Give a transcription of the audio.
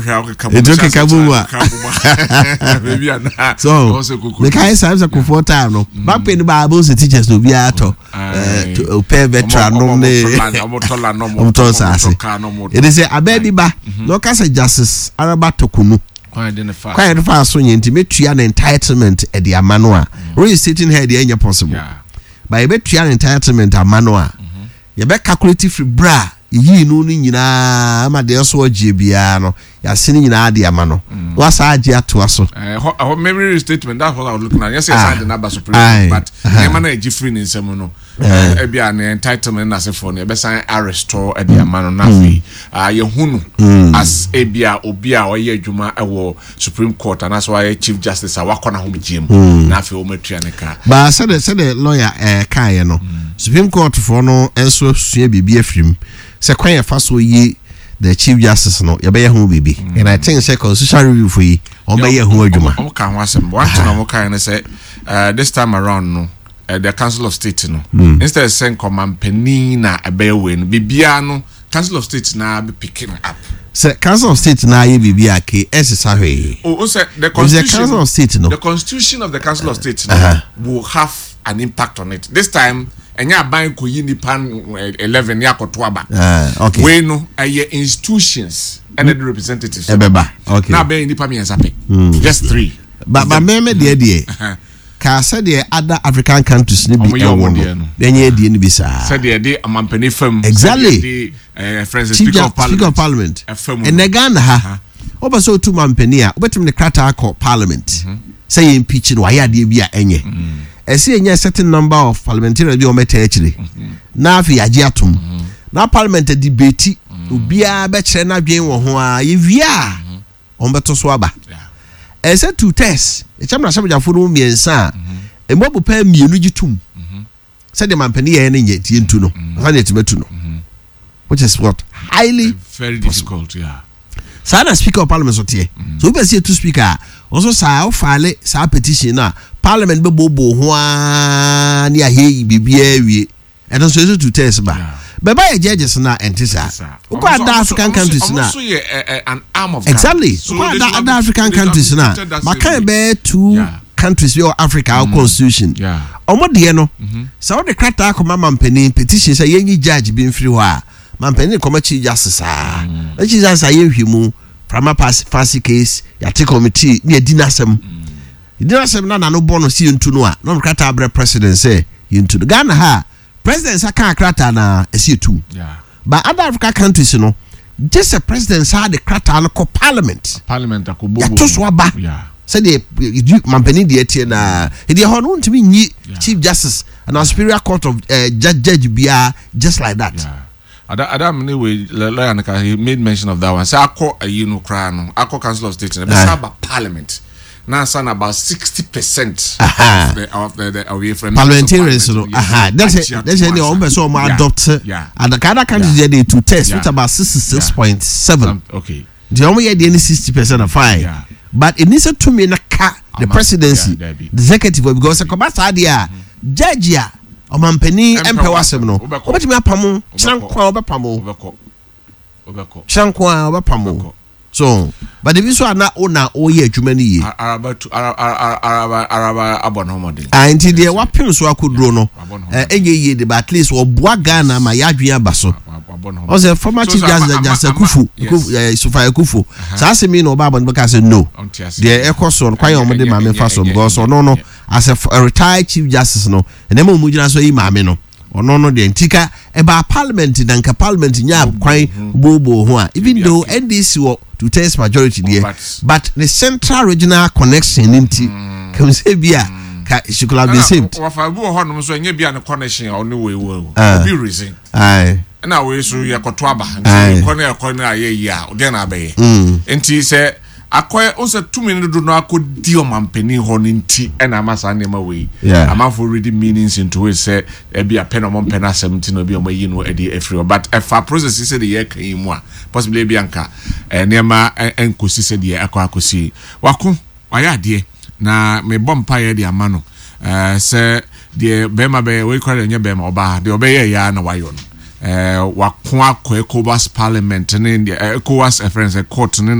Wohwɛ a wokeka bom. Ɛti wokeka bom a. Baabi a na so ɛwɔ sɛ koko. Mekae saa sɛ Kufuor time no, back pain no baa bɛhu sɛ teachers no obiara tɔ pɛ veteran nom ne ɔmotɔ nsase. Ɛde sɛ abaa bi ba na ɔka sɛ Justice Araba Tokunu kwan de ne fa kwan yɛde fa so nyɛ nti mɛtua ne entitlement ɛde ama no a, reinstating her deɛ ɛnyɛ possible, but yɛbɛtua ne entitlement ama no a, yɛbɛ calculate firi berɛ a yɛyii no no nyinaa ama deɛ ɔso ɔgyeɛ biara no, yɛase no nyinaa de ama no na wasa agye atoa so. Ɛhɔ memory restatement, that's what I was looking at. Yes, yes, I did Supreme Court, but nneɛma na ɛgye firi ne nsam no, ebi a ne entitlement na asefoɔ no yɛbɛsan arestore ɛde ama no na afei yɛhu no as ebi a obi a ɔyɛ adwuma ɛwɔ Supreme Court anaasɛ wayɛ Chief Justice a wakɔ n'ahomegyeɛ mu na afei wɔn atua ne ka. Baa sɛde lawyer kaeɛ no, Supreme Court foɔ no nso asua biribi afiri mu sɛ kwan yɛfa so yi the Chief Justice no, yɛbɛyɛ ho biribi, and I think sɛ constitutional review fo yi wɔn bɛyɛ ho adwuma. Wɔn ka ho asɛm. One thing a wɔn ka ne sɛ this time around no, the Council of State no, instead sɛ nkɔmampanin na ɛbɛyɛ wei no, biribiara no Council of State na bɛ picking up. Sɛ Council of State na ayɛ biribi a ke ɛnsesa hwee. O sɛ the Sɛ constitution, Council of State no, the constitution of the Council of State no will have an impact on it. This time ɛnyɛ aban kò nipa 11 ní akɔto aba. Wei no ɛyɛ institutions ɛna the representatives. Ɛbɛba, okay. Na abɛn nipa mmiɛnsa pɛ. Just three. Ba mɛmɛ deɛ kaa sɛdeɛ other African countries no bi Ɔmo yɛ ɔmo ɛwɔ deɛ no no. yɛnyɛ deɛ no bi saa. Sɛdeɛ de amampanin fam. Exactly. Sɛdeɛ de friends Chief Speaker of Speaker of Parliament. Parliament. Ɛfam. Ɛnɛ Ghana ha, wopɛ sɛ wotu mampanin a, wobɛtumi de krataa akɔ Parliament sɛ yɛ impeach no, wayɛ adeɛ bi a ɛnyɛ. Ɛsɛ yɛnya certain number of parliamentarians bi a wɔmɛtaa akyire na afei yɛagye atom na Parliament debate, obiara bɛkyerɛ n'adwene wɔ ho a, yɛwie a wɔn bɛto so aba. Ɛsɛ two thirds ɛkyɛm na ahyɛbadwafoɔ no mu mmiɛnsa a emu abopɛ mmienu gye tom sɛdeɛ mampanin yɛyɛ no nyɛ tie ntu no ansa na yɛtumi atu no, which is what highly very difficult, yeah. Saa na Speaker of Parliament so teɛ. So wopɛ sɛ yɛtu Speaker a, ɔnso saa wofile saa petition no a, Parliament bɛbooboo ho aa ne ahɛ yi biribiara wie. Ɛno nso ɛsɛ two thirds ba. Bɛba yɛ judges no a, ɛnte saa. Wokɔ other African countries no a, exactly, wokɔ other African countries no a, makan bɛyɛ two countries bi wɔ Africa mm. constitution ɔmo deɛ no, sɛ wode krataa kɔma mampanin petition sɛ yɛnyi judge bi mfiri hɔ a, mampanin kɔma Chief Justice saa na Chief Justice ayɛ nhwɛmu prima facie case, yɛate committee ne yɛdi n'asɛm, yɛdi n'asɛm na n'ano bɔ no si yɛntu no a, na ɔmo krataa brɛ President sɛ yɛntu no. Ghana ha, President nsa kaa krataa na ɛsi etu, but other Africa countries no, gye sɛ President saa de krataa no kɔ Parliament, Parliament akɔbɔ, yɛato so aba sɛdeɛ mampanin deɛ teɛ naa. Ɛdeɛ hɔ no, wontumi nyi Chief Justice and Superior Court of judge biara just like that. Yeah. Adam ne wei lawyer no ka, he made mention of that one sɛ akɔ ayi no koraa no, akɔ Council of State no, ɛbɛsa aba Parliament na asa na about 60% of the away from parliamentarians no. Aha, that's it. Ɔmo pɛ sɛ ɔmo adopt and the other countries yɛ de two thirds, which about 66.7. Nti ɔmo yɛ deɛ ne 60% fine, but ɛni sɛ tumi na ka the presidency, the executive, because ɛkɔba saa deɛ a, judge a ɔmampanin mpɛ w'asɛm no, wobɛtumi apam kyerɛ nko a wobɛpam o, kyerɛ nko a wobɛpam o. So but ebi nso a na o na ɔyɛ adwuma no yie. Araba tu araba araba araba abɔ ne ho mmɔden. Ah, nti deɛ wapem so akɔduro no ɛnyɛ yie de, but at least ɔboa Ghana ma yɛadwene aba so. Ɔsɛ former Chief Justice, Justice Akuffo, Sophia Akuffo, saa asɛm yi na ɔba abɔnten bɛka sɛ no, deɛ ɛkɔ so no, kwan yɛ ɔmo de maame fa so, because ɔno no as a retired Chief Justice no, nneɛma ɔmo gyina so yi maame no, ɔno no deɛ nti ka ɛbaa Parliament na nka Parliament nya kwan booboo ho a, even though NDC wɔ two thirds majority deɛ, but the central regional connection ne nti kàm sɛ bi a ka she could have been saved. Wafa bi wɔ hɔnom nso, ɛnyɛ bi a ne connection a ɔne wei wɔ o, obi reason ɛna wei so yɛkɔto aba nti kɔ ne ɛkɔ ne ayɛ yi a, ɔdeɛ na abɛyɛ nti sɛ akɔ o sɛ tumi no dodo no akɔdi ɔmampanin hɔ no nti ɛna ama saa nneɛma wei amanfoɔ reading meanings into it sɛ ebi apɛ na ɔmo mpɛ n'asɛm nti na obi a ɔmo ayi no ɛde afiri hɔ. But ɛfa process yi sɛ de yɛka yi mu a, possibly ebi anka nneɛma ɛnkosi sɛ deɛ ɛkɔ akɔsi. Wako wayɛ adeɛ na mebɔ mpaeɛ de ama no sɛ deɛ bɛrima bɛyɛ wei kora deɛ ɔnyɛ bɛrima, ɔbaa deɛ ɔbɛyɛ yɛ na wayɔ no. Wako akɔ ECOWAS Parliament ne deɛ ECOWAS ɛfrɛ sɛ court ne.